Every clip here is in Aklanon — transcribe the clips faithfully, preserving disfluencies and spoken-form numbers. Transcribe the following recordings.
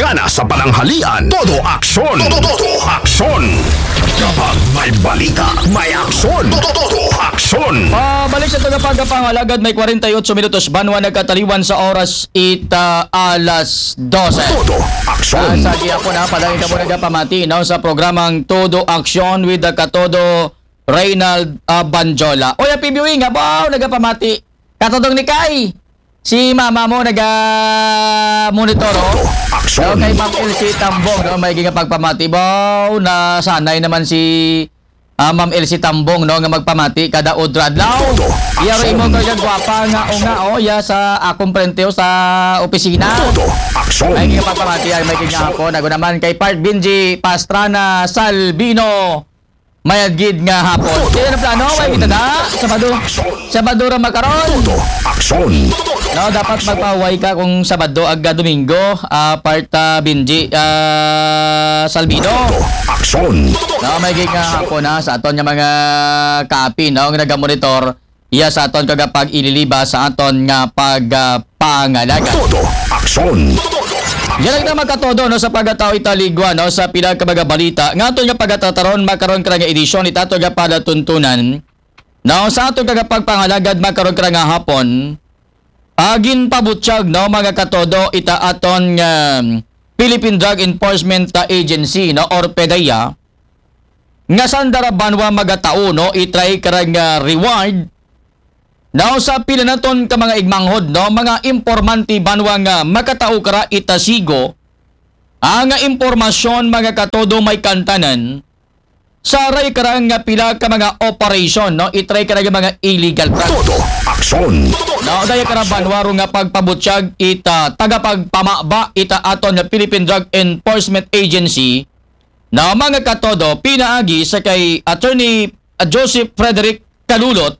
Ana sa pananghalian, todo aksyon. Todo, todo aksyon. Kapag may balita, may aksyon. Todo, todo aksyon. Pabalik sa tagapagpangalagad, may kwarenta y otso minutos banwa nagkataliwan sa oras ita alas dose. Todo aksyon. Ah, sa gihapon na, palagi ka mo nagapamati, no, sa programang Todo Aksyon with the Katodo, Reynald, ah, Banjola. Oy, happy viewing, ha, wow, nagapamati. Katodong ni Kay. Si mama mo naga-monitor, oh. Aksyon. No, kay Ma'am Elsie Tambong, no, may gigapagpamati. Wow, nasanay naman si, ah, Ma'am Elsie Tambong, no, nga magpamati kada udra adlaw. Todo. Iya ro imo aksyon. Kay gwapa nga, o nga, oh, iya sa akong prenteo sa opisina. Todo aksyon. Ay, gigapagpamati, ay, may gigapon. Ako naman kay Part Binji Pastrana Salbino. Mayad gid nga hapon. Todo. Kaya na plano, way aksyon. Kita da, Sabado. Aksyon. Sabado ra makaron. Todo aksyon. No, dapat magpahuway ka kung Sabado ag Domingo, ah, Part, ah, Binji, ah, Salbino. Todo aksyon. No, may gid nga hapon, ha, sa aton nga mga kaapi, no, nga nagamonitor, iya sa aton kagapag-ililiba sa aton nga pag, ah, pangalaga. Todo aksyon. Yan lang na, mga katodo, no, sa pagkatao italigwa, no, sa pila ka mga balita nga aton nga pagkatataron makaron ka nga edisyon ita aton nga palatuntunan. No, sa aton kagapagpangalagad makaron ka nga hapon, agin pabutyag, no, mga katodo, ita aton nga Philippine Drug Enforcement Agency, no, or PDEA, nga sanda ra banwa magatao, no, itry kara nga reward, no, sa pila naton ka mga igmanghod, no, mga impormante banwa nga makatao kara itasigo, ang nga impormasyon, mga katodo, may kantanan, saray kara nga pila ka mga operation, no, itry kara nga mga illegal drugs. Todo aksyon. No, daya kara banwa ro nga pagpabutyag ita tagapagpamaba ita aton nga Philippine Drug Enforcement Agency, na mga katodo, pinaagi sa kay Attorney, ah, Joseph Frederick Kalulot,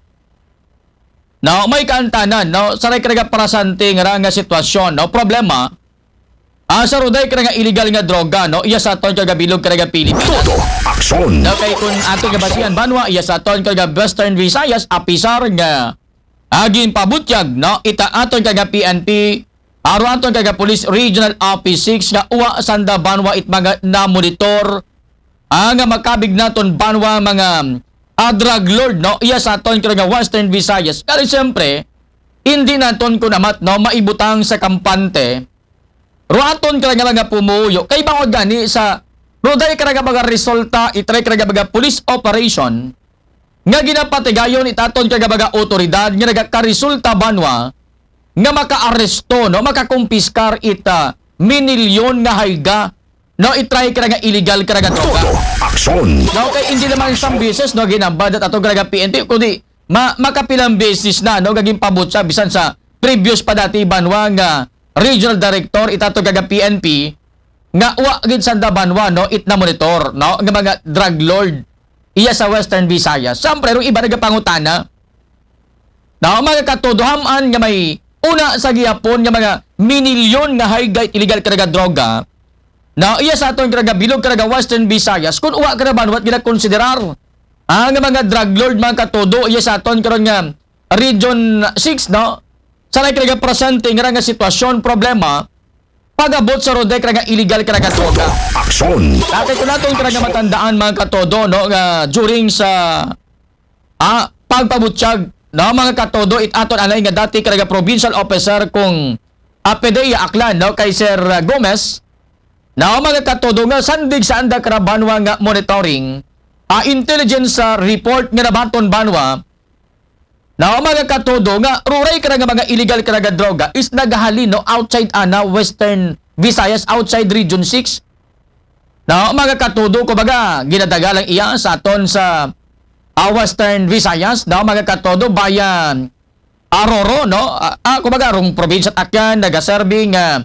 na may kaantanan, no, saray kara nga presente nga ra nga sitwasyon, no, problema, ah, sa ruday kara nga illegal nga droga, no, iya sa aton kagabilog kara nga Pilipinas. Todo aksyon. No, kay kung aton nga basihan banwa, iya sa aton kara nga Western Visayas, apisar nga agin pabutyag, no, ita aton kara nga P N P, aro aton kara nga Police Regional Office six nga uwa sanda banwa it mga namonitor, ah, nga makabig naton banwa mga, ah, drug lord, no, iya sa aton kara nga Western Visayas. Kaya siyempre, hindi naton kunamat, no, maibutang sa kampante, ro aton kara nga mga pumuyo. Kay bangod gani sa ruday kara nga mga resulta, itry kara nga mga police operation, nga ginapatigayon ita aton kara nga mga otoridad nga nagakaresulta banwa nga makaaresto, no, makakumpiskar ita minilyon nga hayga, no, itry kara nga illegal kara nga droga. Todo aksyon. No, kay hindi naman isang beses, no, ginambad at aton kara nga P N P, kundi ma-, makapilang beses na, no, gaging pabutsa bisan sa previous pa dati banwa nga regional director ita aton kara nga P N P nga wa gid sanda banwa, no, it namonitor, no, nga mga drug lord iya sa Western Visayas. Siyempre, rong iba nagapangutana, no, mga katodo, ham-an nga may una sa gihapon nga mga minilyon nga hayga it illegal kara nga droga, no, iya sa aton kara nga bilog kara nga Western Visayas, kung uwa kara banwa it ginakonsiderar, ah, nga mga drug lord, mga katodo, iya sa aton karon nga Region six, no? Saray kara nga presente nga ra nga sitwasyon, problema, pag-abot sa ruday kara nga illegal kara nga droga. Aksyon. Dati ko naton kara nga matandaan, mga katodo, no, nga during sa, ah, pagpabutyag, no, mga katodo, it aton anay nga dati kara nga provincial officer kung, ah, PDEA Aklan, no, kay Sir, ah, Gomez, no, mga katodo, nga sandig sa anda kara banwa nga monitoring, ah, intelligence, ah, report nga nabaton banwa, no, mga katodo, nga ruray kara nga mga illegal kara nga droga is nagahalin, no, outside ana Western Visayas, outside Region six. No, mga katodo, kumbaga, ginadagalang iya sa aton sa, ah, Western Visayas, no, mga katodo, bayan, ah, roro, no? Ah, ah, kumbaga, rong probinsya at Aklan, nagaserve nga,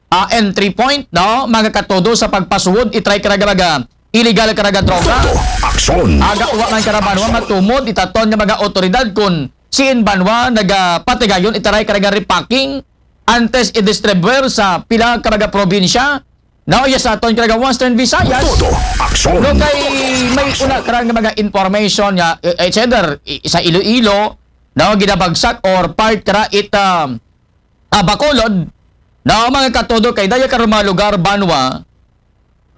ah, entry point, no? Mga katodo sa pagpasuod, itry kara nga mga illegal kara nga droga. Todo aksyon. Aga uwa man kara banwa matumod, ita aton nga mga otoridad kung siin banwa nagapatigayon, itaray kara nga repacking, antes i-distribute sa pila ka mga probinsya, no, iya sa aton kara nga Western Visayas. Todo aksyon. No, kay may una kara nga mga information nga, eh, it's either i-, sa Iloilo, no, ginabagsak or part kara it, um, ah, Bacolod, No, mga katodo, kay daya karon mga lugar, banwa,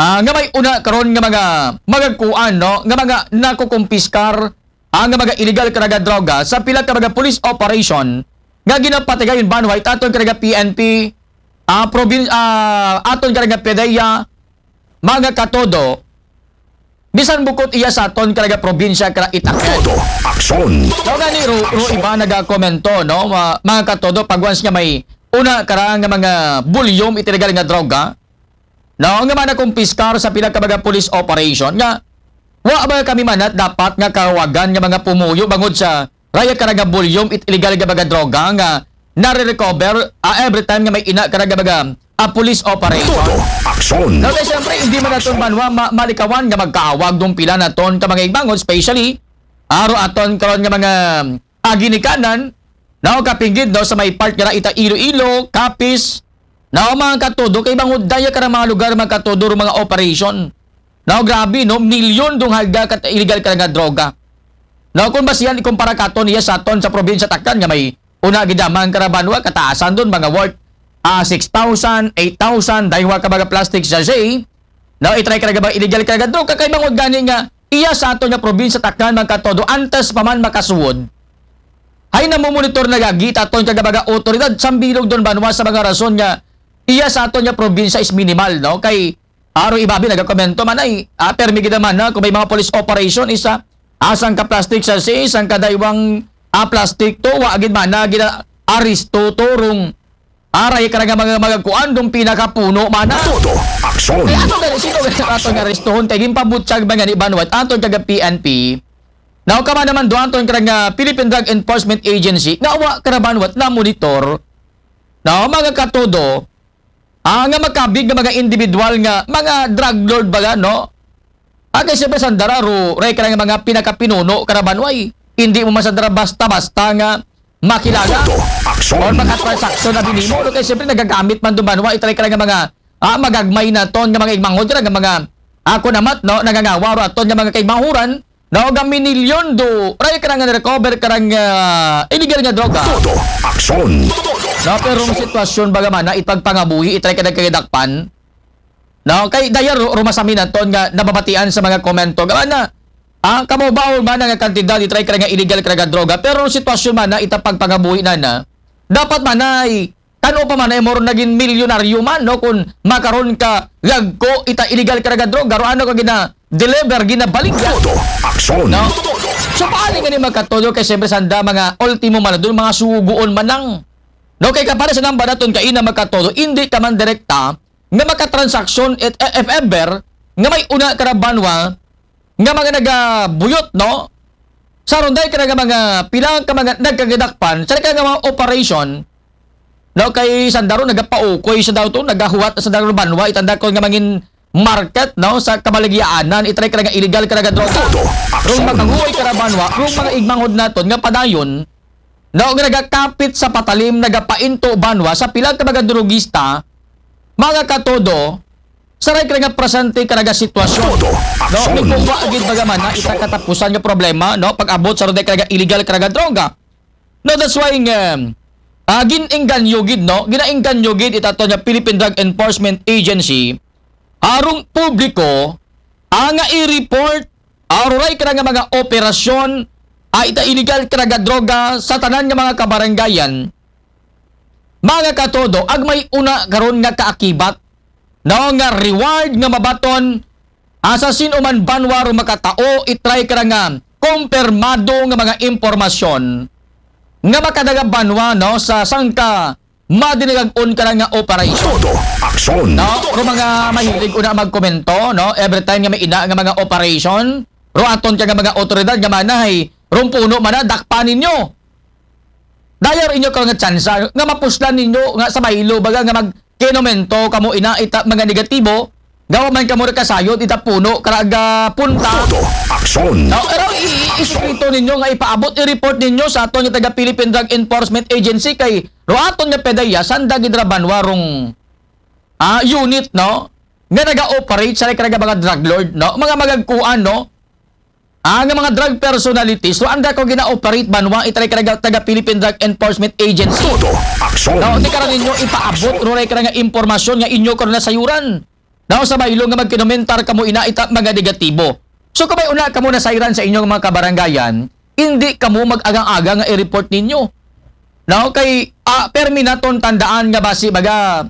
ah, nga may una karon nga mga magagkuan, no, nga mga nakukumpiskar, ah, nga mga illegal karaga droga sa pila ka mga police operation nga ginapatigayon, banwa, it aton karaga P N P, ah, provin-, ah, aton karaga PDEA, mga katodo, bisan bukod iya sa aton karaga probinsya kara itakod. Todo aksyon. No, gani ro, ro iba nagakomento, no, ma-, mga katodo, pag once nga may una kara nga mga bulyom it illegal nga droga, no, nga mga nakumpiskar sa pila ka mga police operation nga wa ba kami manat dapat nga kawagan nga mga pumuyo bangod sa raya kara nga bulyom it illegal nga mga droga nga nare-recover, ah, every time nga may ina kara nga mga, ah, police operation. Todo aksyon. No, kay siyempre, hindi man naton banwa ma-, malikawan nga magkaawag dong pila naton ka mga igbangon, especially aro aton karon nga mga, ah, ginikanan, no, kapinggid, no, sa may part nga ita Iloilo, Capiz, no, mga katodo, kay bangod daya kara mga lugar, mga katodo, ro mga operation. No, grabe, no, milyon dong halga kat illegal kara nga droga. No, kung basihan ikumpara katon iya sa aton sa probinsya Taklan nga may una gid man kara banwa, kataasan dun, mga worth, ah, six thousand, eight thousand, daywa ka mga plastic sachet. No, itry kara nga mga illegal kara nga droga, kay bangod gani nga iya sa aton nga probinsya Taklan, mga katodo, antes pa man makasuod, hay namomonitor na gagi it aton karaga mga otoridad sa bilog dun banwa sa mga rason nga iya sa aton nga probinsya is minimal, no? Kay aro iba bi nagakomento man ay, ah, permi gid man na kung may mga police operation, isa, ah, sangka plastic sachet, sangka daywang, ah, plastic to, wa gid man na gina-aresto to rong, ah, raya kara nga mga, mga kuan dong pinakapuno man na. Todo aksyon. Kay ato gani, sino gani aton nga arestohon kay ginpabutyag man gani banwa it aton karaga P N P. Now, kama naman do aton karaga Philippine Drug Enforcement Agency, nga wa kara banwa it namonitor, no, mga katodo, ah, nga makabig nga mga individual nga mga drug lord baga, no? Ah, kay siyempre sanda ra ro, raya kara nga mga pinakapinuno kara banwa, eh. Hindi mo man sanda ra basta-basta nga makilala. Todo aksyon. Or makatransaksyon na binimo, no? Kay siyempre nagagamit man dong banwa, itry kara nga mga, ah, magagmay naton nga mga igmanghod kara nga mga, ako namat, no, nangangawa ro aton nga mga kaigmanghuran, no, nga minilyon do, raya kara nga recover kara nga, ah, illegal nga droga. Todo aksyon. No, pero ang sitwasyon baga man na ipagpangabuhi, itry kara kagidakpan. No, kay daya ro, rumasami naton nga nababatian sa mga komento. Gawa na, ah, kamo baon man nga kantidad, itry kara nga illegal kara nga droga. Pero ang sitwasyon man na ita pagpangabuhi na na, dapat man ay, kano pa man ay moro naging milyonaryo man, no, kung makaron ka gagko ita illegal kara nga droga, ro ano ka gina-deliver, ginabaligya. Todo aksyon. No? So, paano nga ni magkatodo kay siyempre sanda mga ultimo man dun, mga suguon man lang. No, kay kapara sa namba naton kaina magkatodo, hindi ka man direkta nga makatransaksyon it, eh, if ever, nga may una kara banwa, nga mga nagabuyot, no? Sa ronday kara nga mga pila ka mga nagkagidakpan, sa kara nga mga operation, no? Kay sanda ro nagapaukoy sanda to, nagahuwat sanda ro banwa, itanda ko nga mangin market, no? Sa kabaligyaanan, itry kara nga illegal kara nga droga. Todo aksyon. Rong makahuway kara banwa, rong mga igmanghod naton nga padayon, no, nga nagakapit sa patalim, nagapainto banwa sa pila ka mga drogista, mga katodo, sa raya kara nga presente kara nga sitwasyon. Todo aksyon. No, may kuha gid baga man na ita katapusan nga problema, no, pag-abot sa ronday kara nga illegal kara nga droga. No, that's why nga, ah, gin-engganyo gid, no, ginaengganyo gid it aton nga Philippine Drug Enforcement Agency, arong publiko, ah, nga i-report, ah, ro raya kara nga mga operasyon, ah, ita illegal kara nga droga sa tanan nga mga kabarangayan, mga katodo, agmay una karon nga kaakibat, no, nga reward nga mabaton, ah, sa sin-o man banwa ro makatao, itry kara nga kumpirmado nga mga impormasyon nga makadaga banwa, no, sa sangka madinagag-on kara nga operation. Todo aksyon. No? Kung mga mahilig una magkomento, no? Every time nga may ina nga mga operation, ro aton ka nga mga otoridad nga manahay, rong puno man na, dakpan ninyo. Daya ro inyo ka nga tsansa, nga mapuslan ninyo, nga sa baylo, baga nga magkinomento kamo ina ita mga negatibo, gawa man kamo nakasayod, ita puno, karaga punta. Todo aksyon. No, pero i-, i-, isikreto ninyo nga ipaabot, i-report ninyo sa aton nga taga Philippine Drug Enforcement Agency kay ro aton nga PDEA, sanda gid ra banwa rong, ah, unit, no? Nga naga-operate sa karaga mga drug lord, no? Mga magagkuan, no? Ang mga drug personalities, so anda ko gina-operate banwa, itry ka taga, taga Philippine Drug Enforcement Agency. Todo aksyon. Now, di ka ninyo ipaabot, ruray ka nga impormasyon nga inyo ko nasayuran. Now, sa baylo nga magkinomentar kamo ina ita mga negatibo. So, kung may una kamo nasayran sa inyong mga kabarangayan, hindi kamo mag-agang-agang nga i-report ninyo. Now, kay, ah, permi naton tandaan nga basi baga,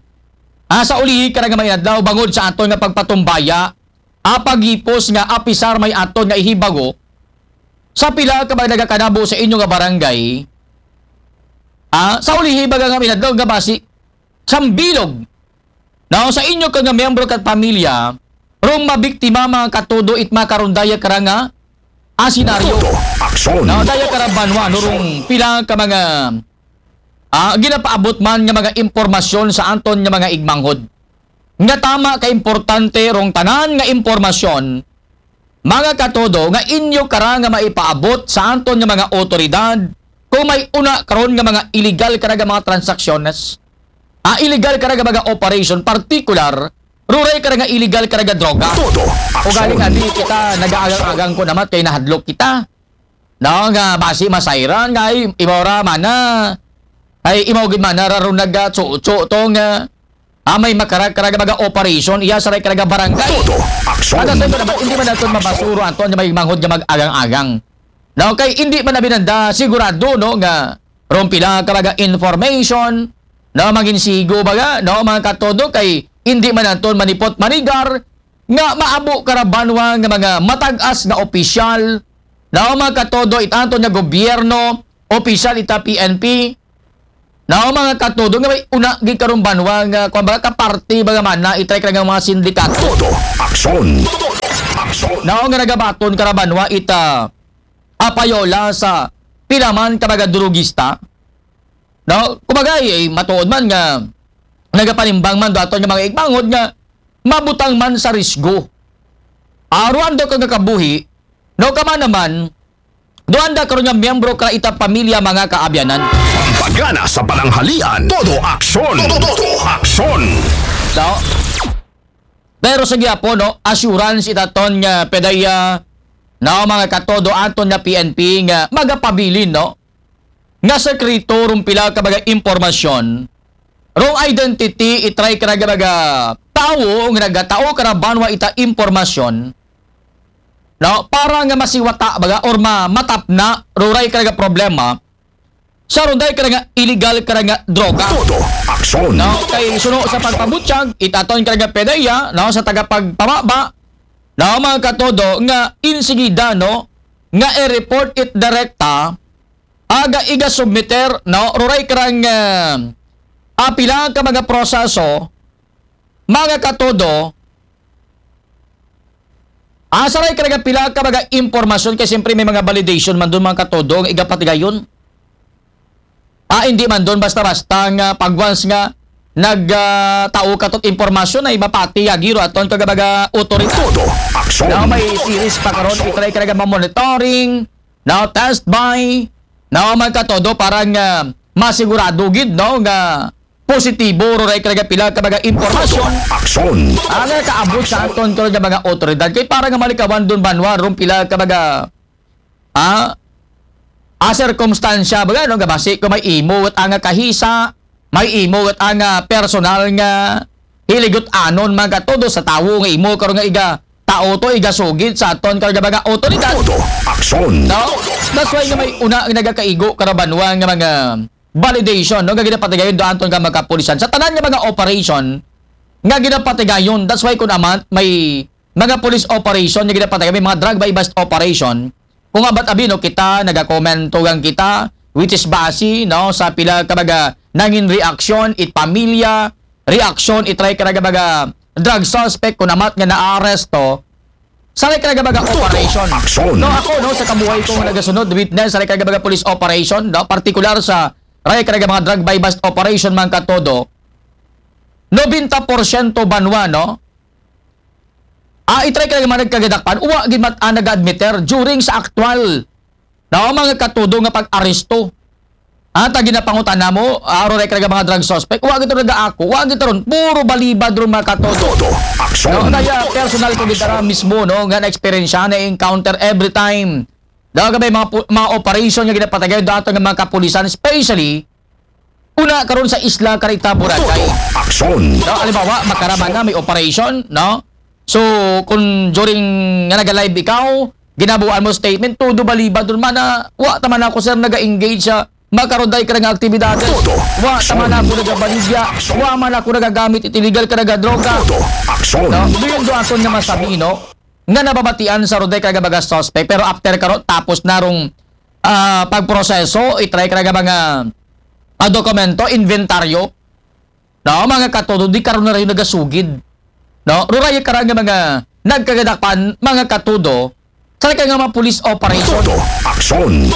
ah, sa ulihi ka nga may adlaw, bangod sa aton nga pagpatumbaya, apagipos nga apisar may aton nga ihibago, sa pila ka ba nagakanabo sa inyo nga barangay, ah, sa ulihi baga nga minadlaw nga basi, sambilog. Now, sa inyo ka nga miyembro kat pamilya, rong mabiktima mga katodo it makarundaya kara nga, ah, senaryo. Todo aksyon. Now, daya kara banwa, no, rong pila ka mga, ah, ginapaabot man nga mga impormasyon sa anton nga mga igmanghod. Nga tama ka importante rong tanan nga impormasyon, mga katodo, nga inyo kara nga maipaabot sa anton nga mga otoridad kung may una karon nga mga illegal kara nga mga transaksyones. Ah, illegal kara nga mga operation, partikular, ruray kara nga illegal kara nga droga. Todo o galing aksyon. Adi kita nag-aagang-agang ko namat kay nahadlok kita. No, nga basi masayran nga ay imora mana. Ay imaw gid mana raron nagtsuo-tsuo to nga, ah, may makarag-karag mga operation iya sa ray karag barangay. Todo aksyon. Kada sa ito naman, hindi man naton mabasuro anton nga may manghod nga mag-agang-agang. No, kay hindi man na binanda sigurado, no, nga rong pila ka mga information, no, mangin sigo baga, no, mga katodo, kay hindi man anton manipot manigar nga maabo kara banwa nga mga matag-as nga opisyal, no, mga katodo, it anton nga gobyerno, opisyal ita P N P, no, mga katodo, nga may una gid karong banwa nga, kwan baga, kaparte baga mana itry kara nga mga sindikato. Todo aksyon. Todo aksyon. No, nga nagabaton kara banwa ita apayola sa pila man ka mga drugista. No, kumbaga, eh, matuod man nga nagapanimbang man do aton nga mga igmanghod nga mabutang man sa risgo. Aruan do ka nga kabuhi, no, kama naman, do anda karon nga miyembro kara ita pamilya mga kaabyanan. Pampagana sa pananghalian, todo aksyon. Todo, todo aksyon. So, pero sa gihapon, no, assurance itaton nga pedaya, no, mga katodo aton nga P N P nga magapabilin, no, nga sekreto rong pila ka mga impormasyon, rong identity, itry ka nga mga tawo nga nagatao kara banwa ita impormasyon, no, para nga masiwata baga or ma matapna ruray ka nga problema sa runday ka nga illegal ka nga droga. Todo aksyon. No, kay suno sa pagpabutyag itaton ka nga pedaya, no, sa tagapagpamaba, no, mga katodo, nga insigida, no, nga i-report it direkta, aga iga submiter, no, ruray ka nga, ah, pila ka mga proseso, mga katodo, ah, sa ray ka nga pila ka mga impormasyon, kay siyempre may mga validation man dun, mga katodo, nga igapatigayon. Ah, hindi man dun basta-basta nga pag once nga nag, ah, tao ka tot impormasyon ay mapati yagi ro aton ka mga otoridad. Todo aksyon. Now, may series pa karon, itry ka nga monitoring, now test by, now, mga katodo, para nga masigurado gid, no, nga positibo ruray ka nga pila ka mga impormasyon. Aksyon. Ang kaabot sa aton ka nga mga otoridad kay para nga malikawan dun banwa rong pila ka mga, ah, ah, sirkumstansya baga, no, nga basi ko may imo wet ang kahisa, may imo wet ang personal nga hiligot anon, mga katodo, sa tawo nga imo karon nga iga tao to, iga sugid sa aton ka nga mga otoridad. Todo aksyon. No? That's why nga may una nga nagakaigo kara banwa nga mga validation, no, nga ginapatigayon do anton ka mga kapulisan. Sa tanan nga mga operation nga ginapatigayon, that's why kun amat may mga police operation nga ginapatigayon, may mga drug buy bust operation. Kung abat abi, no, kita nagakomento gang kita, which is base, no, sa pila ka mga nangin reaksyon it pamilya, reaksyon itry ka nga mga drug suspect kun amat nga naaresto sa ray ka nga mga operation. Aksyon. No, ako, no, sa kabuhay ko nga nagasunod, witness sa ray ka nga mga police operation, no, partikular sa ray ka nga mga drug buy bust operation, mga katodo, nobenta porsyento banwa, no, ah, itry ka nga mga nagkagadakpan, uwa gid mat-, ah, nag-admiter during sa aktual, no, mga katodo, nga pag-aresto. At ang ginapangutana mo, aro na ka mga drug suspect, wa gito nagaako, wa gito ron, puro balibad ron mga katodo. Todo, aksyon. No, kaya personal ko gitara mismo, no, nga na-experience na encounter every time. Daw ka may mga, pu- mga operation nga ginapatagay dato nga mga kapulisan, especially, una karon sa isla karita Boracay. Todo, aksyon. No, halimbawa, makarama na may operation, no? So, kung during nga naga-live ikaw, ginabuan mo statement, todo balibad ron man na, wa taman ako, sir, naga-engage sa makaroday ka nga aktibidades. Todo. Wa taman ako nagabaligya, wa man ako nagagamit it illegal ka nga droga. Todo. Aksyon. No? Doon doon aton nga masabi, no? Nga nababatian sa roday ka nga mga suspect, pero after karon, tapos na rong ah, pagproseso, itry ka nga mga ah, dokumento, inventaryo. No, mga katodo, di karon na rin nagasugid. No, ruray ka nga mga nagkagadakpan, mga katodo, sa ka nga mga police operation. Todo, aksyon.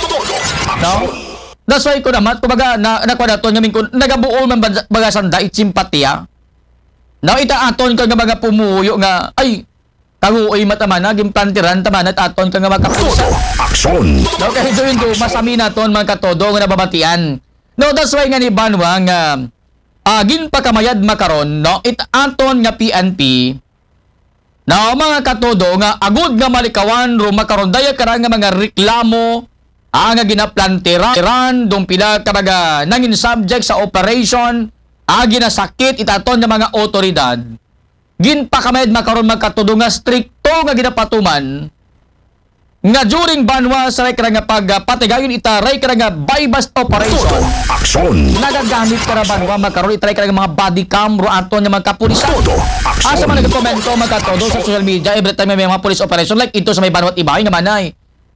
No? That's why ko naman, kumbaga, na, nakuha nato nga mingkon, nagabuo man baga, baga sanda, it simpatiya. No, ita aton ka nga mga pumuyo nga, ay, kaguoy matamana, gimplantiran, tamana, at aton ka nga mga kapulisan. Todo, aksyon. No, kaya doon do, masami naton, mga katodo, nga nababatian. No, that's why nga ni Banwa nga, ah, ginpakamayad makaron, no, it aton nga P N P, no, mga katodo, nga agud nga malikawan, ro makaron daya ka nga mga reklamo, ah, nga ginaplantiran, dong pila ka mga nangin subject sa operation, ah, ginasakit, it aton nga mga otoridad. Ginpakamayad makaron mga katodo nga strikto nga ginapatuman nga during Banwa sa ray ka nga pagpatigayon ita ray ka nga buy-bust operation. Todo, aksyon. Nagagamit ka na Banwa makaron ita ray ka nga mga body cam ro aton nga mga kapulisan. Todo, aksyon. Asa man nagkomento mga katodo sa social media every time may mga police operation like ito sa may Banwa at Ibay nga manay.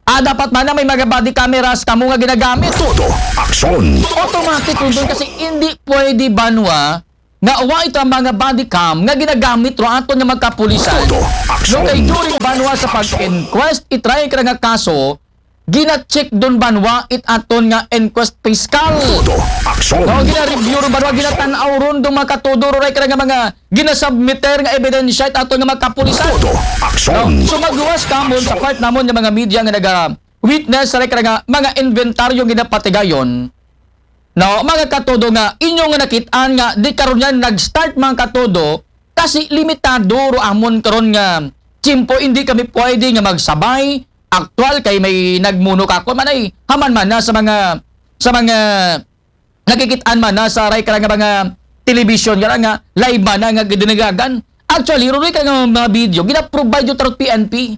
Ah, dapat man na may mga body cameras kamo nga ginagamit. Todo, aksyon. Automatic yun doon kasi hindi pwede Banwa nga wa ito ang mga body cam nga ginagamit ro aton nga mga kapulisan. Todo, aksyon. No, kay during Banwa sa pag-inquest, itry ka nga kaso, gina-check doon Banwa it aton nga inquest fiscal. Todo, aksyon. No, gina-review ron Banwa, ginatanaw ron doon mga katodo, ro ray ka nga mga ginasubmiter nga ebidensya it aton nga mga kapulisan. Todo, aksyon. No, so magluwas kamon sa part namon nga mga media nga naga-witness sa ray ka nga mga inventaryo ginapatigayon. No, mga katodo nga, inyo nga nakit-an nga, di karon yan nag-start mga katodo, kasi limitado ro amon karon nga tiyempo, hindi kami pwede nga magsabay, aktual kay may nagmuno ka, kung manay, haman man na sa mga, sa mga nakikit-an man na sa ray ka nga mga television nga, nga live man na nga gidinagagan. Actually, ro ray ka nga mga video, gina-provide yung tarot P N P.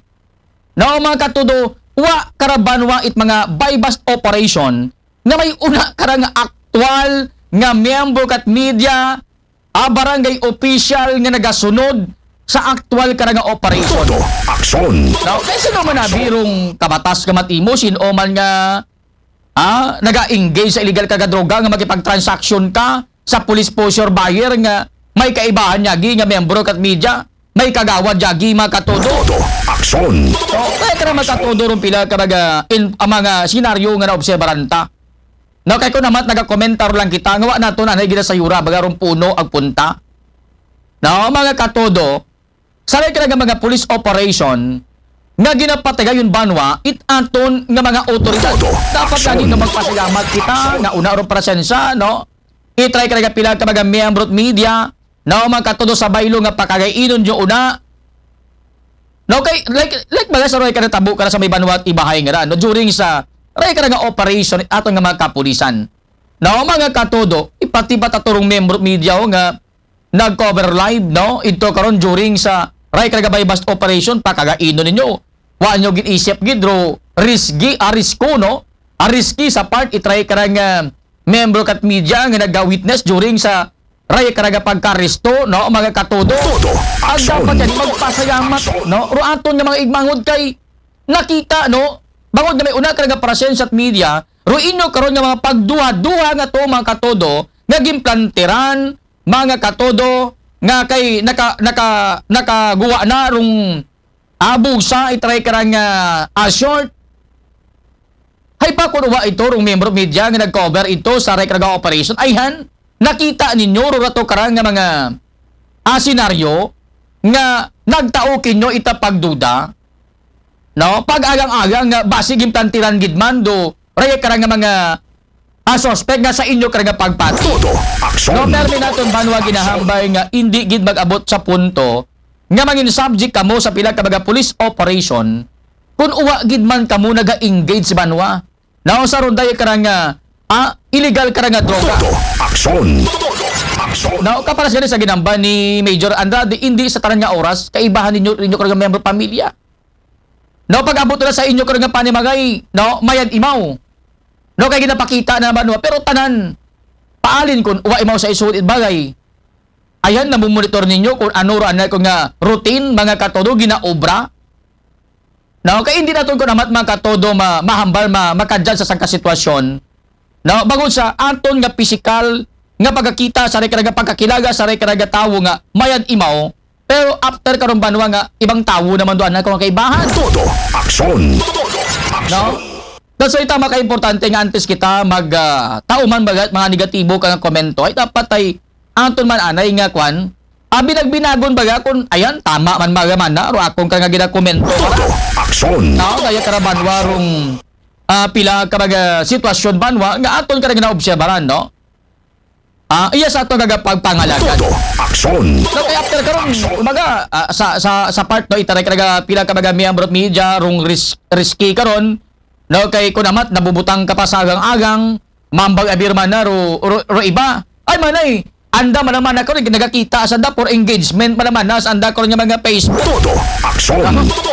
No, mga katodo, wa karabanwa it mga buy-bust operation nga may una kara nga aktual nga miyembro kat media, ah, barangay official nga nagasunod sa aktual kara nga operation. Todo, aksyon. No, kay sino man nabirong kabatas ka matimo, sino man nga, ah, naga-engage sa illegal ka nga droga nga makipagtransaksyon ka sa police poseur buyer nga may kaibahan niya gi nga miyembro kat media, may kagawad niya gi mga katodo. Todo, aksyon. So, kaya ka na magkatodo ron pila ka mga, in, ang mga senaryo nga naobserbaran ta. No, kay kung naman nagakomentar lang kita, nga wa nato na ginasayura, baga ron puno ag punta. No, mga katodo, sa ray ka nga mga police operation, nga ginapatigayon banwa, it aton nga mga otoridad. Todo, dapat aksyon. Lagi nga magpasalamat kita, nga una ron presensya, no? Itry ka nga pila ka mga miyembro at media, no, mga katodo sa baylo nga pakagainon nyo una. No, kay, like, like, mga sa ray ka natabo ka na sa may banwa at Ibahay nga ra, no, during sa, ray ka nga operation, aton nga mga kapulisan. No, mga katodo, ipatibat ato rong miyembro at media, oh, nga, nag-cover live, no? Ito karon during sa, ray ka nga buy-bust operation, pakagainon ninyo. Wa nyo gin-isip gid, ro, risky, arisko, no? Ariski sa part, itry ka nga, miyembro kat media nga naga-witness during sa ray ka nga pagkaresto, no, mga katodo. Todo, aksyon. Ang dapat yan, magpasalamat, no, ro aton nga mga igmangod kay nakita, no, bangod nga may una ka nga presensya at media, ro inyo karon nga mga pagduha-duha nga to, mga katodo, nga gimplantiran, mga katodo, nga kay naka, naka, nakaguwa na rong abusa, itry ka nga, ah, short. Hay pa kuno wa ito rong miyembro media nga nag-cover ito sa ray ka nga operation. Ayhan, nakita ninyo ro rato karang nga mga, ah, senaryo nga nagtao kinyo ita pagduda, no? Pag-agang-agang nga basig gimplantiran gid man do ray ka nga mga, a suspect nga sa inyo kara nga pagpati. Todo aksyon. No, permi naton banwa ginahambal nga indi gid mag-abot sa punto nga mangin subject kamo sa pila ka mga police operation kung uwa gid man kamo naga-engage banwa. Now, sa ronday kara nga, ah, illegal kara nga droga. Todo aksyon. Todo aksyon. Now, kaparas gani sa ginamba ni Major Andrade, hindi sa tanan nga oras, kaibahan ninyo, ninyo kara nga member pamilya. No, pag-abot na sa inyo kara nga panimagay, no, mayad imaw. No, kay ginapakita na banwa, pero tanan, paalin kun wa imaw sa isulod it bagay. Ayan, namumonitor ninyo kung ano ra na kung nga routine, mga katodo, ginaobra. No, kay hindi naton kun amat, mga katodo, ma mahambal, ma makadyan sa sangka sitwasyon. No, bangod sa aton nga pisikal nga pagkakita sa rekara nga pagkakilaga sa rekara nga tawo nga mayad imaw, pero after karon banwa nga ibang tawo naman doon na kung kaibahan. Todo aksyon. No? That's why tama ka importante nga antes kita mag ah, tauman baga mga negatibo ka nga komento ay dapat ay aton man anay nga kwan. Abi nagbinagon baga kung ayan tama man baga man na ro akong ka nga ginakomento. Todo aksyon. Tao kaya kara banwa rong ah, pila ka mga sitwasyon banwa nga aton ka nga naobserbaran, no? Ah, iya sa ato nga pagpangalagan. Todo aksyon. No, kay after karon, kumbaga, ah, sa sa sa part no itaray ka nga pila ka mga miyembro media rong ris- risky karon, no, kay kunamat nabubutang ka pa sa agang-agang, mambag abir man na ro, ro, ro iba. Ay manay, anda man naman na karon nagakita sa anda for engagement man naman na sa anda karon nga mga Facebook. Todo aksyon.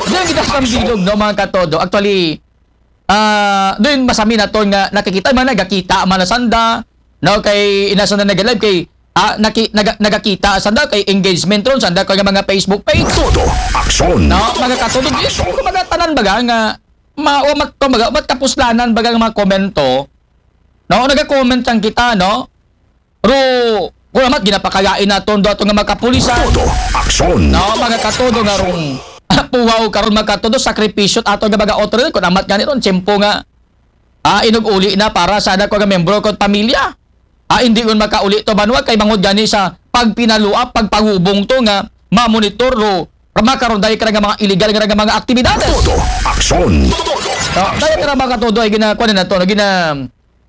Diyan kita sa bilog, no, mga katodo. Actually, ah, doon masami na to nga nakikita man nagakita man na sanda, no, kay inasa na nag-live kay ah, naki, naga, nagakita sanda kay engagement ron sanda kay mga Facebook page. Todo aksyon. No, mga katodo, kumbaga tanan baga nga ma, o mag, kumbaga, matapuslanan baga nga mga komento. No, naga-comment lang kita, no? Pero kung amat ginapakayain naton do ato nga mga kapulisan. Todo aksyon. No, mga katodo nga rong puwaw karon mga katodo sakripisyo ato nga mga otoridad kung amat gani ron tiyempo nga ah, inug-uli na para sa anak ko nga membro ko pamilya. Ah, hindi yun makauli to banwa kay bangod gani sa pagpinaluap, pagpangubong to nga mamonitor ro makaronday ka nga mga illegal nga mga aktibidades. Todo aksyon. No, dahil ka mga katodo ay ginakuha na to, gina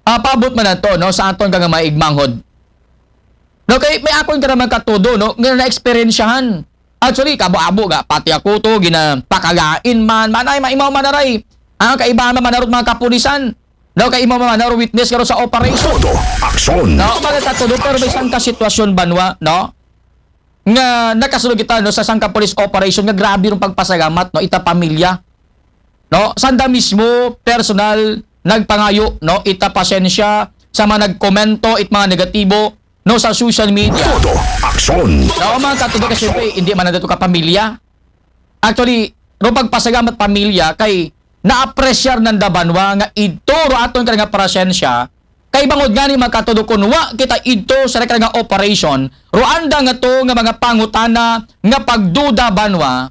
ah, paabot man na to, no, sa aton ka nga maigmanghod. No, kay may akon ka naman katudo, no, nga na-eksperyensyahan. Actually, kabo-abo ga, pati ako to, ginapakagain man, manay, maimaw man aray. Ang kaibahan man manarot mga kapulisan. No, kay imaw man manarot witness karon sa operation. Todo aksyon. No, mga katudo, pero may isang kasitwasyon banwa, no? Nga nakasulog kita, no, sa sangka police operation nga grabe rong pagpasalamat, no, ita pamilya. No, sanda mismo personal nagpangayo, no, ita pasensya sa mga nagkomento it mga negatibo, no, sa social media. Todo aksyon. No, mga katudo kasi siyempre, hindi man na dito ka pamilya. Actually, no pagpasalamat pamilya kay naapresyar nanda banwa nga idto ro aton ka nga presensya kay bangod nga ni mga katudo kun wa kita idto sa rekara nga operation ro anda nga to nga mga pangutana nga pagduda banwa.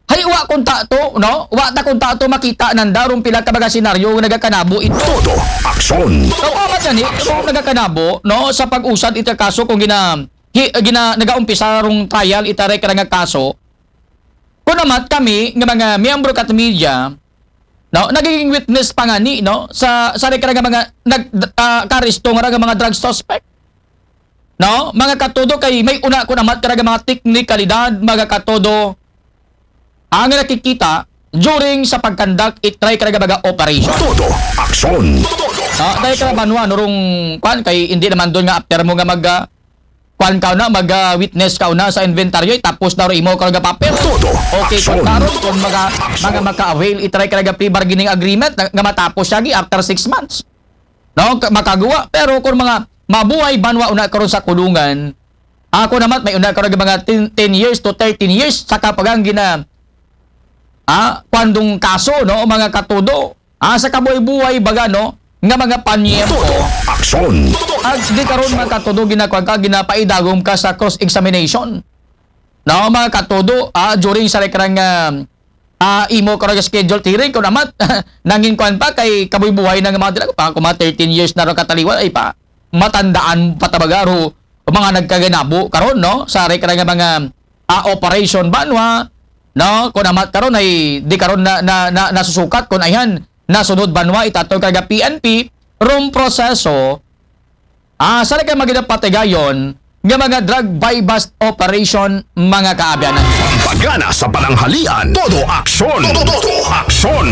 Hay wa kun ta to, no? Wa ta kun ta to makita nanda rong pila ka mga senaryo nga nagakanabo ito. Todo aksyon. So, amat gani, kung nagakanabo, no, sa pag-usad ita kaso kung gina, hi, gina nagaumpisa rong trial ita rekara nga kaso, kung amat kami nga mga miyembro kat media, no, nagiging witness pa nga ni, no, sa sa rekara nga mga nag ah, karisto nga mga drug suspect. No, mga katudo kay may una kun amat karaga mga teknikalidad, mga katudo, ang nakikita during sa pagkandak itry karaga mga operation. Todo aksyon. No, dahil ka banwa nurong kwan kay hindi naman doon nga after mo nga mag ah, kwan ka na mag ah, witness ka una sa inventaryo tapos na ro imo ka nga papel. Todo okay, aksyon. Karon kung mga mga maka-avail itry karaga pre-bargaining agreement nga matapos siya gi after six months. No, makagawa. Pero kung mga mabuhay banwa una karon sa kulungan, ako naman may una karon mga ten, ten years to thirteen years sa kapagang gina ah, kwandong kaso, no, mga katudo. Ah, sa kabuhay-buhay baga, no, nga mga panyempo. Todo aksyon. At di karon mga katudo ginakuan ka ginapaidagom ka sa cross examination. No, mga katudo, ah, during sa rekrang ah, ah, imo karon schedule hearing ko naman nangin kuan pa kay kabuhay-buhay na nga mga dila pa ko mga thirteen years na ro kataliwan ay pa matandaan pa tabaga ro mga nagkaganabo karon no sa rekra nga mga ah, operation banwa no kun amat karon ay di karon na, na, na nasusukat kun ayan nasunod banwa itaton karaga P N P rong proseso, ah, sa kay magidapatigayon nga mga drug buy-bust operation, mga kaabyanan. Pampagana sa pananghalian, todo aksyon. Todo, todo aksyon.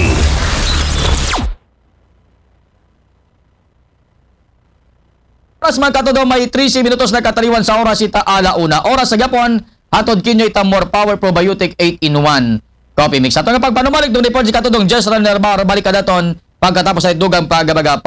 Oras man katudo may trese minutos na kataliwan sa oras ita ala una. Oras sa gapon, hatod kinyo ita More Power Probiotic eight in one Coffee Mix. Ato nga pagpanumalik, dong report si katudong Jess Ranerbar, balik ka daton pagkatapos ay dugang pagabaga.